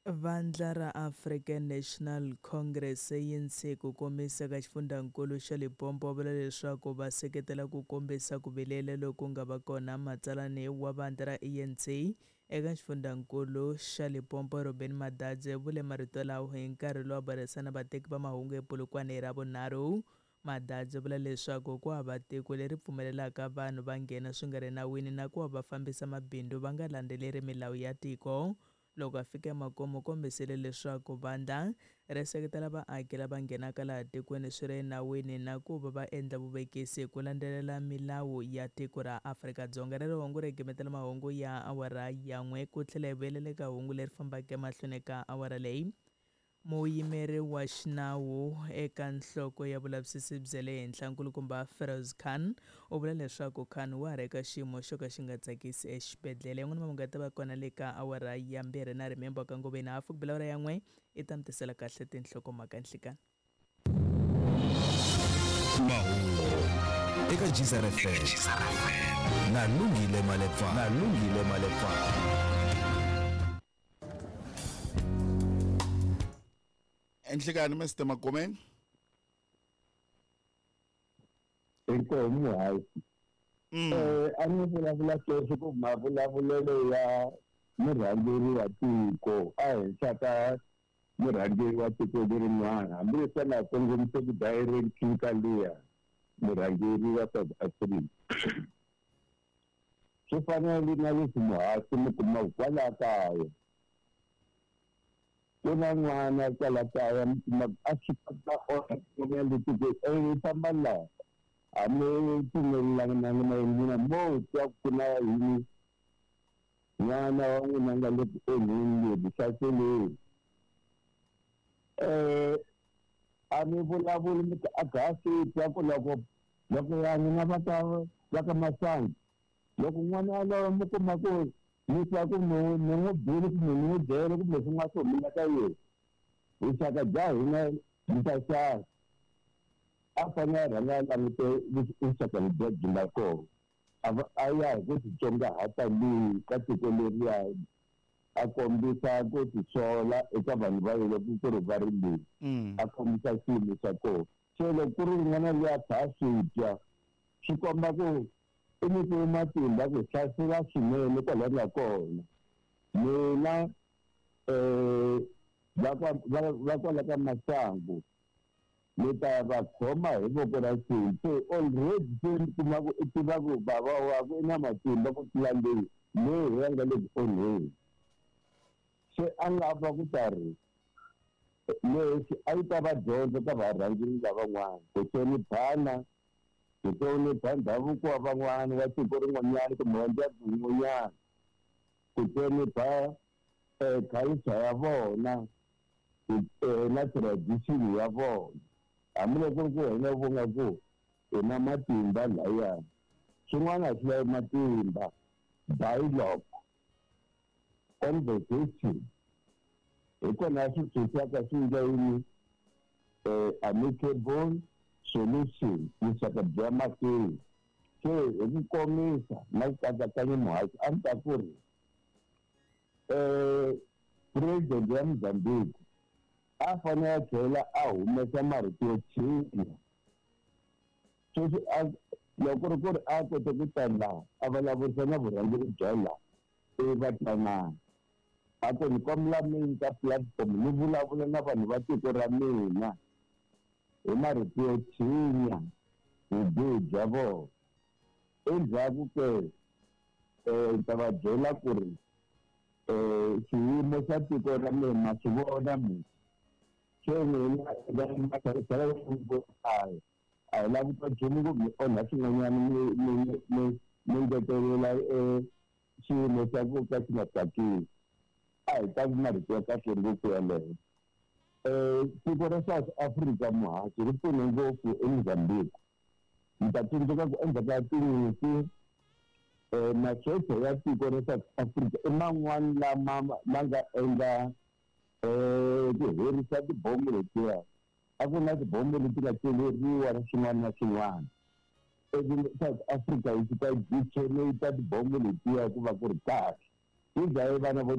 Vandla ra African National Congress, ANC, ku komisa ka xifundzankulu xa Limpopo va vula leswaku va seketela ku kombisa ku vilela loku nga va kona. Matsalani wa vandla ra ANC eka xifundzankulu xa Limpopo Robin Madadze vule marito lawa hi nkarhi lowu a burisana na vateki va mahungu ePolokwane hi Ravunharhu. Madadze vula leswaku ku hava tiko leri pfumelelaka vanhu va nghena swi nga ri nawini na ku va va fambisa mabindzu va nga landzeleri milawu ya tiko. Loko a fika emakumu u kombisile leswaku vandla ri seketela vaaki lava nghenaka laha tikweni swi ri enawini na ku va va endla vuvekisi hi ku landzelela milawu ya tiko ra Afrika-Dzonga. Rero hungu ri gimetela mahungu ya awara ya n'we ku tlhela hi vuyelela eka hungu leri fambaka emahlweni ka awara leyi. Muyimeri wa xinawu eka nhloko ya vulavisisi bya le henhla nkulukumba Feroz Khan u vula leswaku Khan wa ha ri eka xiyimo xo ka xi nga tsakisi exibedhlele. Yan'wana mahungu ya ta va kona le ka awara ya 2 na rimembo ka ngoveni hafu ku bela awara ya 1 i ta mi tisela kahle tinhlokomhaka nhlikani. Mahungu eka Gzar FM na Lungile Malepa, na Lungile Malepa. Enhlekani Mr Magomeni. Inkomu hayi. A ni vulavula sweswi ku mavulavulelo ya murhangeri wa tiko a henhla ka murhangeri wa tiko lerin'wana, hambileswi a nga kongomiseki direct ka liya murhangeri wa South Africa. Swi fanele na leswi muhasi mi kumaka kwala kaya. Ku na n'wana kwala kaya mi kumaka a swi kota onha le tikweni, famba laha a mi pfumelelana na n'wina mo twa ku na yini n'wana wa n'wina nga le ku onheni le vuhlaseleni. A mi vulavuli mi a ga swi twa ku loko ya n'wina va ka va ka masangu, loko n'wana yaloye mi kuma ku mi twa ku mi n'wi bile kumbe mi n'wi byele kumbe swin'wana swi humelela ka yena, vuxaka bya hina byi ta xava. A fanele a rhanga a langute vuxaka lebyiya byi nga kona, a ya hi ku titsongahata leyi ka tiko leriya, a kombisa ku tisola eka vanhu va yena loko ku ri va ri leyi, a kombisa xiyimo xa kona. Se loko ku ri n'wana loyi a kha a swi twa, swi komba ku i nyikiwe matimba ku hlasela swinene kwalaho nga kona. Mina va kwala ka masangu ni ta va khoma hi voko ra nsimbi. Se already se ni kuma ku i tiva ku bava wakwe i na matimba ku tlula leyi leyi ya nga le ku onheni. Se a nga va ku ta ri leswi a yi ta va dyondzo ka varhangeri lavan'wana ku hloniphana, ku hlonipha ndhavuko wa van'wana wa tiko rin'wanyana kumbe wa ndyangu wun'wanyana, ku hlonipha culture ya vona na tradition ya vona. Hambiloko ku ri ku wena u vona ku hi na matimba laya, swin'wana a swi lavi matimba. Dialogue, conversation, hi kona swi tshunxaka swi endla yini, amicable solution, vuxaka bya mahlweni. Se hi ku komisa na ku katsakanya muhaxi, a ni ta ku ri president ya Mozambique a fanele a tlhela a humesa marito yo tshinya. Sweswi loko ku ri a kote ku ta laha a vulavurisa na vurhangeri bya laha ivi va twanana, a ku ni kombela mi nyika platform ni vulavula na vanhu va tiko ra mina hi marito yo tshinya vubihi bya vona. Endzhaku ke ni ta va byela ku ri xiyimo xa tiko ra mina ma swi vona mina. Se n'wina a hi lavi ku nchumu ku mi onha swin'wanyana mi ngetelela xiyimo xa ku ka xi nga tsakisi. A hi ta marito ya kahle ngopfu yaleyo. Tiko ra South Africa muhaxi ri pfune ngopfu eMozambique. Mi ta tsundzuka ku endzhaku ka tinyimpi masocha ya tiko ra South Africa i man'wani lama ma nga endla ku herisa tibomo letiya. A ku na tibomo leti nga celeriwa na swin'wana na swin'wana. Ivi South Africa yi fika yi detonate tibomo letiya ku va ku ri kahle. Yi dlaye vana vo